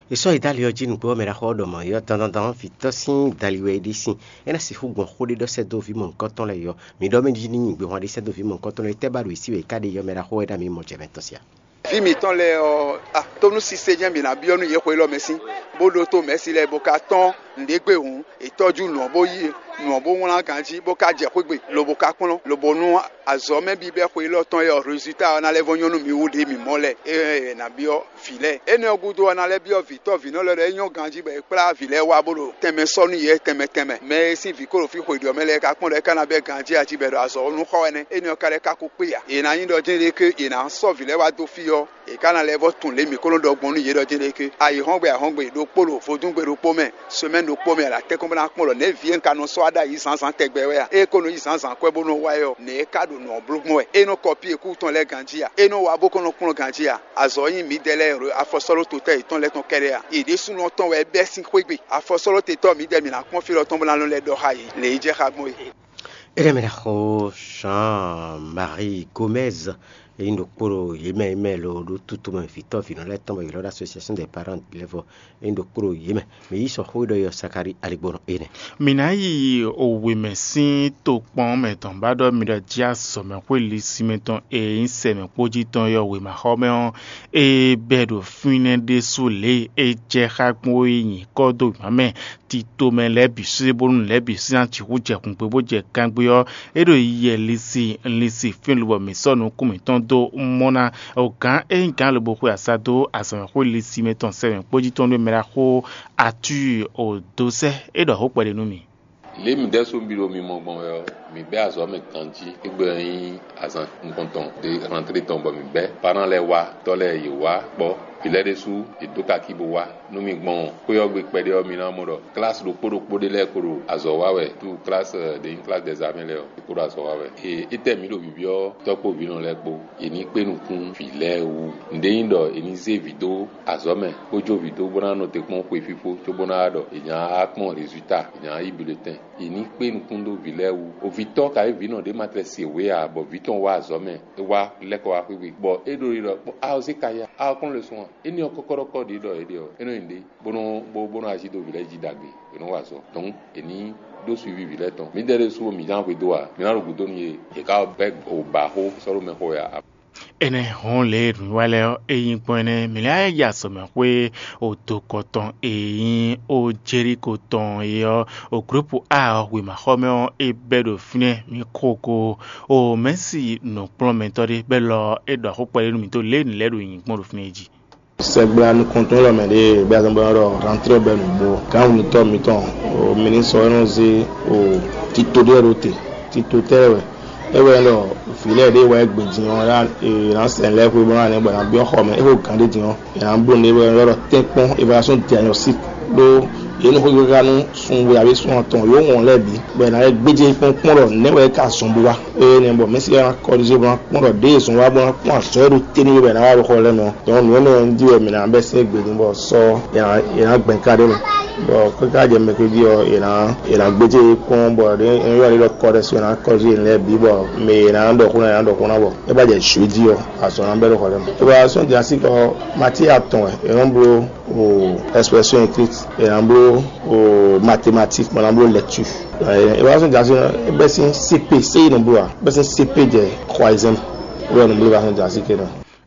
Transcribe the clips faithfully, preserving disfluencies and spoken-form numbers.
È sɔ́ yi dó ali ɔ́ jí nǔgbó ɔ́, mɛ ɖaxó ɔ́ ɖɔ mɔ̌ yɔ́ dandandan vǐ tɔ́ sín dali wɛ é ɖe sín. É ná sixú gbɔn xó ɖé ɖɔ sɛ́ dó vǐ mɔ̌hunkɔtɔn lɛ́ɛ yɔ. Mǐ ɖɔ mɛ jí ní nyi gbehwan ɖé sɛ́ dó vǐ mɔ̌hunkɔtɔn lɛ́ɛ, tɛ́ ba ɖo yě sí wɛ é ká ɖe yɔ mɛ ɖaxó wɛ ɖo ami mɔ jɛ mɛ tɔn sia. Vǐ mǐtɔn lɛ́ɛ ɔ́, a, tónú sise jɛ́n mǐ ná byɔ́ nú yě xwe élɔ́ mɛ sín, bó ɖótó mɛ̌si lɛ́ɛ bó ka tɔ́n nǔɖé gbe hǔn, è tɔ́jú nǔ ɔ́ bó yí nǔ ɔ́ bó wlán ganjí, bó ka jɛ xwé gbe, lobo ka kplɔ́n, lobo nú azɔ̌ mɛ bíbɛ́ xwe élɔ́ tɔn e ɔ́, résultat ɔ́ ná lɛ́ vɔ́ nyɔ́ nú mi wú ɖě mǐ mɔ lɛ́ɛ. É ná byɔ́ vǐ lɛ́ɛ. Énɛ́ ɔ́ gúdo ɔ́, a ná lɛ́ byɔ́ vǐ tɔ́ vǐnɔ lɛ́ɛ ɖɔ é nyɔ́ ganjí bɔ è kplá vǐ lɛ́ɛ wá bó ɖo tɛnmɛ sɔ́ nú yě tɛnmɛ tɛnmɛ. Mɛ e sín vǐ ko ɖo fí xwe ɖě ɔ́ mɛ lɛ́ɛ ka kpɔ́n ɖɔ é ka ná bɛ́ ganjí a jí bɔ è ɖo azɔ̌ ɔ́ nú xɔ wɛ nɛ́. Énɛ́ ɔ́ ka lɛ́ ka kó kpé ǎ. È nǎ nyí ɖɔ jɛ́n ɖé ké è nǎ sɔ́ vǐ lɛ́ɛ wá dó fí ɔ́, è ka ná lɛ́ vɔ́ tunwun lě mǐ ko nɔ ɖɔ gbɔn nú yě ɖɔ jɛ́n ɖé ké. Ayǐhɔ́ngbe ahɔ́ngbe ɖokpó ɖo vodúngbe ɖokpó mɛ, semɛ́ni ɖokpó mɛ, a nǎ tɛ́nkpɔ́n bó ná kpɔ́n ɖɔ nɛ̌ vǐ e un ka nɔ sɔ́ wá ɖ'ayǐ zǎnzǎn tɛgbɛ wɛ a? Ée ko nɔ yí zǎnzǎn kwɛ́ bó nɔ wá ɛ ɔ́, nɛ̌ é ka ɖo nǔ ɔ́ bló gbɔn wɛ? É nɔ kɔpí e kú tɔn lɛ́ɛ ganjí a? É nɔ wá bó kɔn nɔ kplɔ́n ganjí a? Azɔ̌ nyí mǐdɛɛ lɛ́ɛ ɖo afɔsɔ́ɖótotɛ́ yětɔn lɛ́ɛ tɔn kɛ́ɖɛ́ a? Yě ɖésúnɔ tɔn wɛ é bɛ́ sín xwé gbe. Afɔsɔ́ɖótetɔ́ mǐdɛɛ mǐ ná kpɔ́n fí lɔ tɔn bó ná nɔ lɛ́ ɖɔ xá yě, lě e jɛ xá gbɔn é. Énɛ́ mɛ ná xo Jean Marie Gomez, e nyí ɖokpó ɖo yě mɛ e mɛ lo ɖó tútu mɛ vǐtɔ́ vǐnɔ lɛ́ɛ tɔn bɔ yě lɔ́ ɖó Association des Parents d'Élèves, e nyí ɖokpó ɖo yě mɛ. Mǐ yí sɔxó e ɖɔ yɔ Sakari aligbɔnɔ énɛ́. Mǐ ná yi wěmɛ sín tokpɔn mɛ tɔn ba ɖɔ mi ɖɔ jí azɔ̌mɛxwé lisinmɛ tɔn e nyí sɛmɛ kpójí tɔn yɔ wěmaxɔmɛ ɔ́, e bɛ́ ɖo fínɛ́ ɖésú lě e é jɛ xá gbɔn é nyǐkɔ dó wěma mɛ. Tito mɛ lɛ́ɛ bǐ sín bónú lɛ́ɛ bǐ sín ná sixú jɛ hǔngbe bó jɛ kangbé ɔ́, é ɖo yiyɛ lisi lisi fín lobɔ mǐ sɔ́ nukún mǐtɔn dó mɔ ná. Gǎn e nyí gǎn lobo xwe asá dó azɔ̌mɛxwé lisi mɛ tɔn sɛmɛ kpójí tɔn ɖó mɛ ɖaxó Atúi o dó sɛ́ é ɖɔ xó kpɛɖé nú mì. Lě mǐ ɖɛ́ sú mì ɖo mi mɔ gbɔn wɛ ɔ́, mǐ bɛ́ azɔ̌ mɛ ganjí. Égbé ɔ́ nyí azǎn nukɔntɔn ɖé rantlé tɔn bɔ mǐ bɛ́ parán lɛ́ɛ wá, tɔ́ lɛ́ɛ yě wá kpɔ́. Vǐ lɛ́ɛ ɖésú yě dó kakí bó wá nú mi gbɔn xwé ɔ́ gbe kpɛɖé ɔ́, mi ná mɔ ɖɔ klasi ɖokpó ɖokpó ɖé lɛ́ɛ ko ɖo azɔ̌ wa wɛ. Tú klasi ɖě nyí klasi dɛzamɛ lɛ́ɛ ɔ́, é ko ɖo azɔ̌ wa wɛ. Ee, étɛ́ mǐ ɖo byɔ́ tɔ́ kpó vǐnɔ lɛ́ɛ kpó, yě ní kpé nukún vǐ lɛ́ɛ wú. Nǔɖé nyí ɖɔ è ní zé vǐ dó azɔ̌ mɛ, bó jó vǐ dó bó ná nɔ te kpɔ́n xwe fífó, cóbó ná wá ɖɔ è nǎ wá kpɔ́n rezulta, è nǎ yí bulletɛn. È ní kpé nukún dó vǐ lɛ́ɛ wú. Ovǐtɔ́ ka nyí vǐnɔ ɖé ma tlɛ se wě ǎ, bɔ vǐ tɔn wá azɔ̌ mɛ, é wá lɛ́ kɔ wá xwé gbe. Bɔ é ɖo yi ɖɔ kpɔ́, a ɔ zé ka ya, a ɔ kplɔ́n le sun a? Énɛ́ ɔ́ kɔ́kɔ́ɖɔkɔ́ ɖě ɖɔ é ɖe ɔ́, é nɔ nyí ɖě, bó nɔ bó bó nɔ ají dó vǐ lɛ́ɛ jí ɖagbe, è nɔ wa azɔ̌. Donc è ní ɖó suivi vǐ lɛ́ɛ tɔn. Mǐdɛɛ ɖésú mǐ ján xwedó ǎ, mǐ ná ɖo gǔdo nú yě, yě ka bɛ́ o ba xó sɔ́ ɖó mɛxó wɛ ǎ. Énɛ́ hɔn lě e nǔwiwa lɛ́ɛ ɔ́, é nyí gbɔn énɛ́, mǐ lɛ́ ya sɔmɛxwé o dokɔ tɔn e nyí o Jeriko tɔn é ɔ́, o gǔlúpu A ɔ́ wěmaxɔmɛ ɔ́, é bɛ́ ɖo fínɛ́ mǐ xo ko o Mɛ̌si nǔkplɔ́nmɛtɔ́ ɖé, bɛ́ lɔ é ɖɔ xó kpɛɖé nú mǐ dó lě e nǔ lɛ́ɛ ɖo nyi gbɔn ɖo fínɛ́ é jí. Sɛgbla nukɔntɔn lɔ mɛ ɖe bɛ zɔn bɔ ɖɔ rantrɛ bɛ nǔgbó. Gǎn wǔnutɔ́ mitɔn o minisɔ e nɔ zé o tito ɖé ɖo te. Tito tɛ́ wɛ é wɛ ɖɔ vǐ lɛ́ɛ ɖé wɛ gbe din ɔ́, è nǎ sɛn lɛ́ɛ xwé bɔ ná nɛ bɔ è nǎ byɔ́ xɔ mɛ. É xo gǎn ɖé din ɔ́, è nǎ bló nǔ ɖé bɔ è nɔ ɖɔ tɛ́nkpɔ́n évaluation diagnostic ɖó yě nɔ xwé gbégbá nú sunwe abǐ sun atɔn yǒ wɔn lɛ́ɛ bǐ bɔ è nǎ lɛ́ gbéjé kpɔ́n kpɔ́n ɖɔ nɛ̌ wɛ é ka zɔn bó wá. Ée nɛ́ bɔ mɛ̌si ɔ́ ná kɔ́ɖizo bó ná kpɔ́n ɖɔ ɖěe zɔn wá bó ná kpɔ́n azɔ̌ e ɖo te nú we bɔ è nǎ wá ɖo xɔ lɛ́ɛ mɛ ɔ́. Donc nǔ énɛ́ ɔ́ jí wɛ mǐ ná bɛ́ sín égbé din bɔ sɔ́ è nǎ è nǎ gbɛn ká ɖé mɛ. Bɔ káká jɛ mɛ jí ɔ́, è nǎ è nǎ gbéjé kpɔ́n bɔ è nɔ ylɔ́ ɖɔ kɔ́ɖɛ́ so è nǎ kɔ́ɖizo yě lɛ́ɛ bǐ bɔ mɛ è nǎ ɖɔ xó ná è nǎ ɖɔ xó ná bɔ é bá jɛ jǔ jí ɔ́, azɔ̌ ná bɛ́ ɖo xɔ lɛ́ɛ mɛ. Évaluation diagnostique ɔ́, matière atɔn wɛ è nɔ bló o expression écrite, è nǎ bló o mathématique, bɔ è nǎ bló lecture. Évaluation diagnostique ɔ́, é bɛ́ sín C P, C I nɔ bló ǎ, é bɛ́ sín C P jɛ troisième. Wɛ nɔ bló évaluation diagnostique nɔ.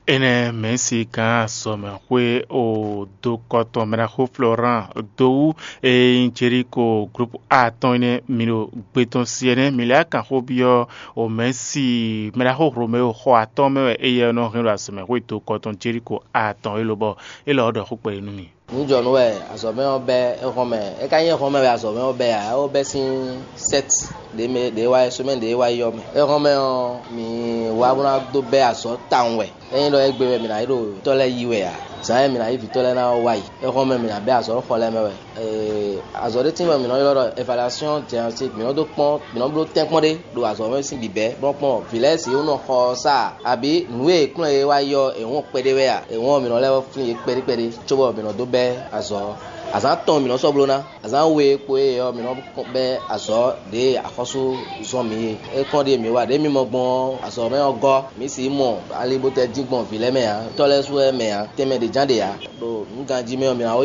Énɛ́ mɛ̌si gǎn azɔ̌mɛxwé o dokɔtɔn mɛɖaxó Florent dó wú e nyí Jeriko groupe A tɔn énɛ́ mi ɖo gbe tɔn si ɛnɛ́ mi lɛ́ kan xó byɔ́ o mɛ̌si mɛɖaxó Romeo xɔ atɔn mɛ wɛ éyɛ́ nɔ hɛn ɖo azɔ̌mɛxwé dokɔtɔn Jeriko A tɔn é lobɔ é lɔ ɖɔ xó kpɛɖé nú mi. Nǔjɔnú wɛ azɔ̌mɛ ɔ́ bɛ́ éhɔ́nmɛ. É ka nyí éhɔ́nmɛ wɛ azɔ̌mɛ ɔ́ bɛ́ ǎ, é wó bɛ́ sín sɛ́t ɖě mɛ ɖě wá yi, semaine ɖě wá yi ɔ́ mɛ. Éhɔ́nmɛ ɔ́, mǐ wá bó ná dó bɛ́ azɔ̌ tawun wɛ. Ényí ɖɔ égbé wɛ mǐ ná yi ɖo vǐtɔ́ lɛ́ɛ yi wɛ ǎ, zǎn e mǐ ná yí vǐtɔ́ lɛ́ɛ ná ɔ́ wá yi. Éhɔ́nmɛ mǐ ná bɛ́ azɔ̌ xɔ lɛ́ɛ mɛ wɛ. Azɔ̌ ɖé tín bɔ mǐ nɔ ylɔ́ ɖɔ évaluation diagnostique, mǐ nɔ dó kpɔ́n, mǐ nɔ bló tɛ́nkpɔ́n ɖé ɖo azɔ̌ mɛ sín bǐbɛ́ bó nɔ́ kpɔ́n vǐ lɛ́ɛ si wú nɔ xɔ ɔ́ sá a, abǐ nǔ e è kplɔ́n yě wá yi ɔ́, è wɔn kpɛɖé wɛ a? È wɔn mǐ nɔ lɛ́ vɔ́ flín yě kpɛɖé kpɛɖé cóbɔ mǐ nɔ dó bɛ́ azɔ̌. Azǎn atɔn mǐ nɔ sɔ́ bló ná. Azǎn we kpo e ɔ́, mǐ nɔ bɛ́ azɔ̌ ɖě e axɔ́sú zɔ́n mǐ é. É kpɔ́n ɖíe mǐ wa ɖě mǐ mɔ gbɔn ɔ́, azɔ̌ mɛ ɔ́ gɔ́. Mǐ sixú mɔ ali bó tɛ dín gbɔn vǐ lɛ́ɛ mɛ ǎ, tɔ́ lɛ́ɛ su wɛ mɛ ǎ, tɛnmɛ ɖě ján ɖe ǎ. Ɖo nǔ ganjí mɛ ɔ́, mǐ ná wá